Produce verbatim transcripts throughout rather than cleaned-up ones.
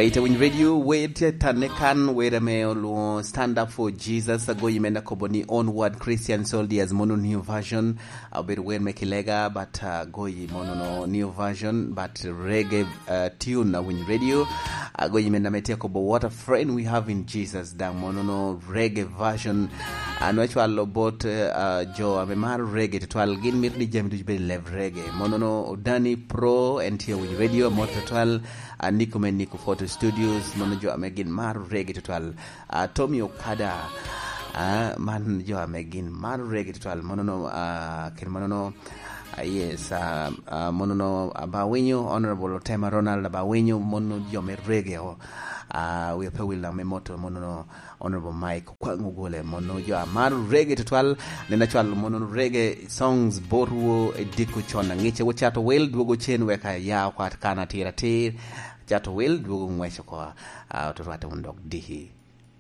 Ite Winy Radio, wer tye tanne kan, wer ame olwoŋo Stand Up for Jesus, agoyi me nakobo ni Onward Christian Soldiers, mono new version, obedo wer me kilega, but, uh, agoyi mono no new version, but reggae, uh, tune a Winy Radio, agoyi me name tye kobo What a Friend We Have in Jesus, daŋ mono no reggae version, anu acwalo bot, uh, jo ame maro reggae tutwal, gin mito ni jami ducu bed i level reggae, mono no Danny Pro, en tye Winy Radio, amot tutwal, a Nico me Nico Photo Studios, mano jo ame gin maro reggae tutwal. A Tommy Okada, a, man jo ame gin maro reggae tutwal. Mano no, a, kit mano no, a, yes, a, a, mano no, a, ba winyo, Honorable Otema Ronald, ba winyo, mano jo me reggae o. A, wi pe wil me moto, mano no, Honorable Mike Okwaŋ Ogole, mano jo a maro reggae tutwal, nen acwalo mano reggae songs botwu i diko con aŋica, wo cato wel, dwogo cen wek aya okwat kan atir atir, cato wel, dwogo ŋwec oko, a, oto rwatte wun dok diki.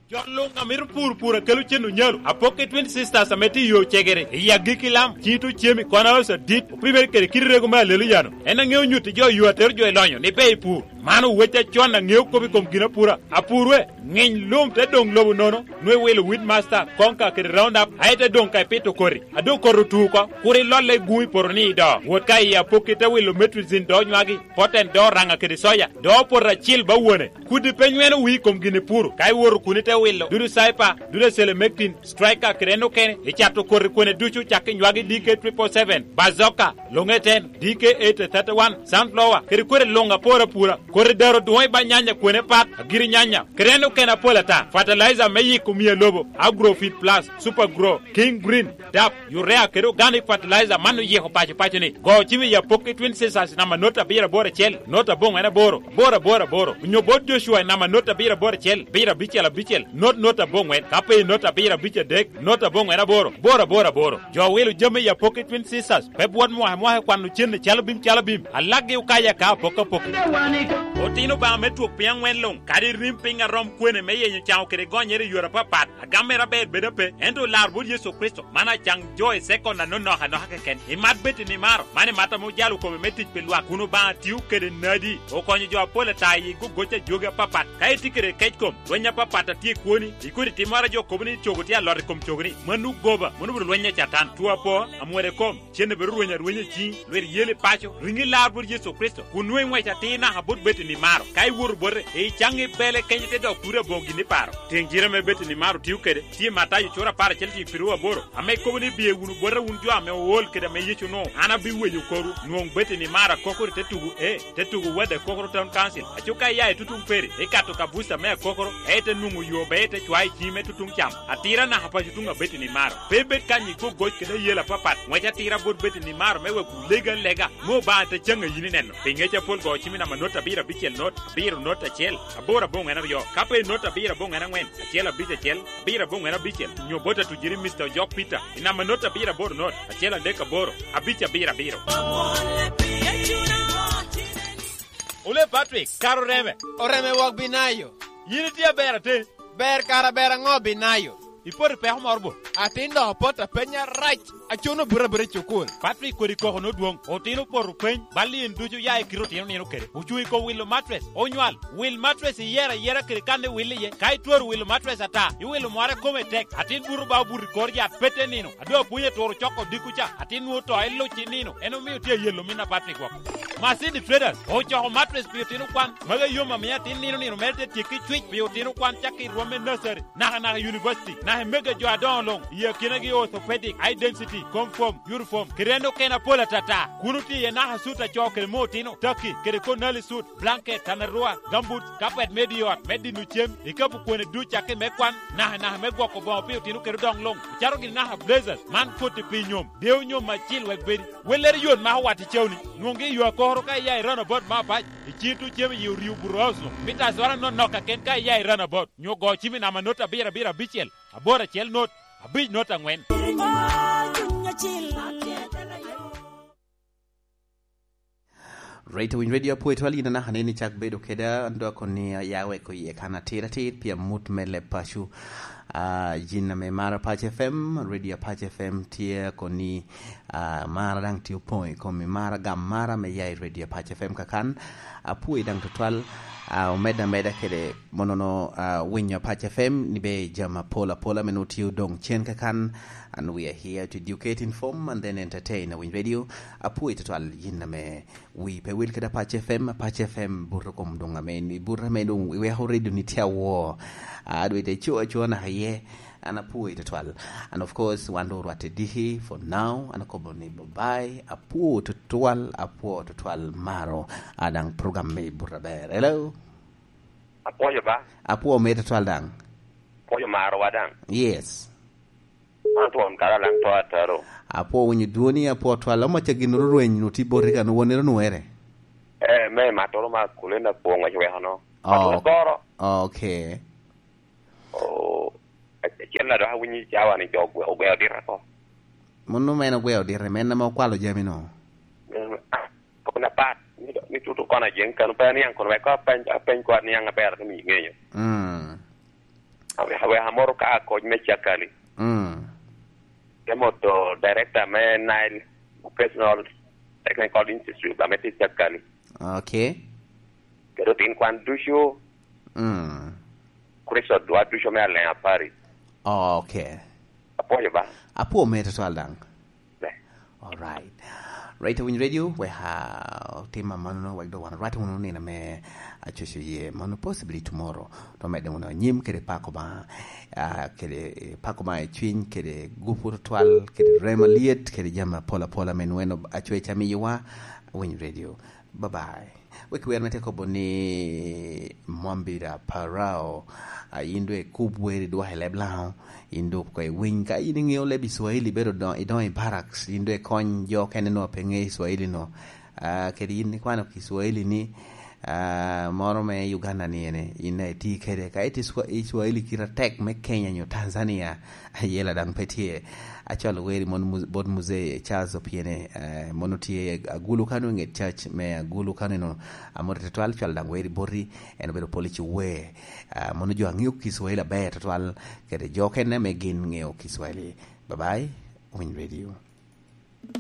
Jo luŋ a mito pur, pur a kelo cen onyalo. Apoki Twin Sisters ame tye i yo cegere, i agikki lam, cito cemi, kwana osa dit, opimere kede kit rego me alelo yano. En aŋeo nyutti jo yo atero jo i lonyo, ni pe i pur. Man owec acon aŋeo kop i kom gin apura. Apur we, ŋiny lum te doŋ lobo nono, nwe wilo Weedmaster, Konka kede Roundup, aye te doŋ ka ipito koti. A doŋ koti otu oko, kur ilolle i guŋ i poto ni i do. Wot ka i apokki te wilo Metrozin do nywagi, Poten do raŋa kede soya, do poto acil ba wone. Kudi pe nyweno wii kom gin ipuro, ka iwoto kun ite wilo, dudu Cyper, dudu Selemectin, Striker kede en okene, icato koti kwene ducu cak i nywagi D K triple seven, Bazooka, Longe ten, D K eight thirty-one, Sunflower, kede kwene luŋ apor apura, koti daro dwoŋ i ba nyanya kwene pat, agiri nyanya, kede en okene apol ata, fertilizer me yiko mia lobo, Agrofit Plus, Super Grow, King Green, dap, urea kede organic fertilizer man oyiko paco paco ni. Go cim i apokki Twin Sisters namba not abiro aboro acel, not aboŋo en aboro, aboro aboro aboro. Onyo bot Joshua i namba not abiro aboro acel, abiro abicel abicel, not not aboŋwen, ka pe i not abiro abic adek, not aboŋwen aboro, aboro aboro aboro. Jo wilo jami i apokki Twin Sisters, pe bwot mwaka mwaka i kwano cen i calo bim calo bim, alaggi okayo aka apok apok. Otino Obaŋa me twok piny aŋwen luŋ, kadi rim piny arom kwene me yenyo caŋo kede gonyere i yore apapat, Agam mere aber bedo ape, ento olar bot Yecu Kricito, man acaŋ jo i sekon anonok anoka keken. Imat bed i nimaro, man imat ame ojalo kome me tic pi lwak, kun Obaŋa tio kede nadi, okonyo jo apol ata i gogoc ajogi apapat. Ka itye kede kec kom, lweny apapat a tye i kwoni, ikodi timmoro a jo kobo ni cogo tye alot i kom cogoni, mano goba, mano obedo lweny a Catan, two apo, amwero i kom, cen obedo rweny arwenya i ciŋi, lweri yeli paco, riŋi lar bot Yecu Kricito, kun nwoŋo iŋwec atir naka bot Betani maro. Ka iwoto bote, icaŋ i bele kenyo te dok turi aboŋo gin iparo. Tiŋ jire me Betani maro tio kede, tye i Matayo cura apar acel tiŋ piru aboro, ame kobo ni, "Biye wunu bota wun jo ame ool kede ame Yecu onwoŋo, an abiweyo korwu." Nwoŋ Betani maro akokoro te tugo, e, te tugo wadde akokoro Town Council. Aco ka iya i tutuŋ peri, ikato ka buca me akokoro, ete nwoŋo yo be ite cwayo i ciŋi me tutuŋ cam. Atira naka paco tuŋ a Betani maro. Pe ibed kany i gogoc kede ayela apapat, ŋwec atira bot Betani maro me wek wulega lega, me Obaŋa te caŋ a yin ineno. Pi ŋec apol go cim i namba not abiro abicel not, abiro not acel, aboro aboŋwen aryo, ka pe not abiro aboŋwen aŋwen, acel abic acel, abiro aboŋwen abicel, nyo bot atujiri Mister Ojok Peter, i namba not abiro aboro not, acel adek aboro, abic abiro abiro. Ole Patrick, kara oreme. Oreme wok Binayo. Yin itye aber atin. Ber kara ber aŋo Binayo? Ipoto i peko moro bo? Atin dok apot apenya rac. Acuno buto abuta i cukul. Patrick kodi koko nodwoŋ. Otino opoto peny. Bal in ducu ya i kite otino nino kede. Ocuŋ i kom wilo matres. Onywal. Wil matres iyero ayera kede kan iwil iye. Ka itwero wilo matres ata, iwilo mwara kome tek. Atin buto ba obuto i kor yat pete nino. Ado apwony aturo coko dikku ca. Atin nwoŋo to iluc i nino. En omio tye ayelo min a Patrick woko. Masini Traders ocoko matres pi otino kwan. Magi yom amiyo atin nino nino mere te tyekki cwic pi otino kwan cakki i rwom me nursery, naka naka i university, naka i mega jo adoŋo luŋ, i akinagi orthopedic, high density, confirm, uniform, kede en okene apol atata. Kun otye iye naka sut acoo kede me otino, taki, kede konali sut, blanket, tanarua, gambut, kapet me di ot, me dino cem, ikapu kwene duc cakki me kwan, naka naka me gwoko boŋo pi otino kede odoŋ luŋ, ocato gini naka blazers, man koti pi nyom, deyo nyom acil wek bedi. Wellere yot mako wat i cawni, nwoŋgi i yo akokoro ka iya i roundabout me apac, i cito cem i orio buto house-nu. Mita azwara nonok kaken ka iya i roundabout, nyo go cim i namba not abiro abiro abicel, aboro acel not, abic not aŋwen. Rate Winy Radio apwoyo twal yin anaka ni ni cak bedo keda, an dok koni ya weko iye kan atir atir pi amut me leb paco. Ah, yin ame maro Apac F M, Radio Apac F M tye koni, ah, mara daŋ tye opoŋ i komi, mara gam mara me ya i Radio Apac F M kakan. Apwoyi daŋ tutwal. Ah, omedde ameda kede monono, ah, winyo Apac F M ni be jami apol apola me nwoŋo tye odoŋ cen kakan. And we are here to educate, inform, and then entertain. Awiny Radio, apwoyi tutwal yin ame wi pe wil kede Apac F M, Apac F M buto kom doŋ ame, buto ame doŋ iweko radio ni tye awor. Ah, dwe te co acoa naka iye. An apwoyi tutwal. And of course, wan doŋ orwatte diki for now. An akobo ni bye bye. Apwo tutwal, apwo tutwal maro. A daŋ program me buto aber. Hello? Apwoyo ba? Apwo me tutwal daŋ. Apwoyo marowa daŋ. Yes. An twon kara daŋ to ataro. Apwo winyo dwoni, apwo twal. Omo ca gin rweny nu ti boti kan wonere nwere. Eh, me matoro ma kulenda kwongo ci weko no. Oh, matoro goro. Okay. Oh, acel na dok awinyo i cawa ni jo ogwe-, ogweo dita ko. Mano men ogweo dita, men ame okwalo jami no. Mm, ah, kona pat, ni, ni tutu kona jeng kano pa niang kono wek apeny, apeny kwa niang aber ni mi ngeyo. Mm. Awe, awe amoro ka kony me cakali. Mm. Te moto director me Nile Vocational Technical Institute, ame tye cakali. Okay. Kede otin kwan ducu. Mm. Kristo dwa ducu me Aleng Apari. Oh, okay. Apwoyo ba? Apwo me tutwal daŋ. Be. All right. Right, Awiny Radio, we ha, tim amanno, wek do wan, right, unu nina me acucu ye, mano possibly tomorrow. To medde unu anyim kede pako ba, ah, kede pako ba i cwiny, kede gupu tutwal, kede rema liet, kede jami apol apola me nweno acweca miyowa, Awiny Radio. Bye bye. Wek wer me te kobo ni Mwambira Parao, a, in dwe ikub wer idwoko i leb Laŋo, in dwe oko iwiny. Ka in iŋeo leb i Swahili, ibedo do-, idoŋo i barracks, in dwe ikony jo okene nwa pe ŋeo i Swahili no. A, kede in ikwano ki Swahili ni, a, moro me Uganda ni ene, in a iti kede. Ka iti Swa-, i Swahili kite atek me Kenya nyo Tanzania, ayela daŋ pe tye. Acwalo weri mon mu-, bot Muzee Charles Opiene, eh, mono tye Agulu kano i ŋet cac me Agulu kano eno, amoro tutwal cwalo daŋ weri boti, en obedo polici wer. Ah, mono jo aŋeo Kiswahili aber tutwal, kede jo okene ame gin ŋeo Kiswahili. Bye bye, Winy Radio.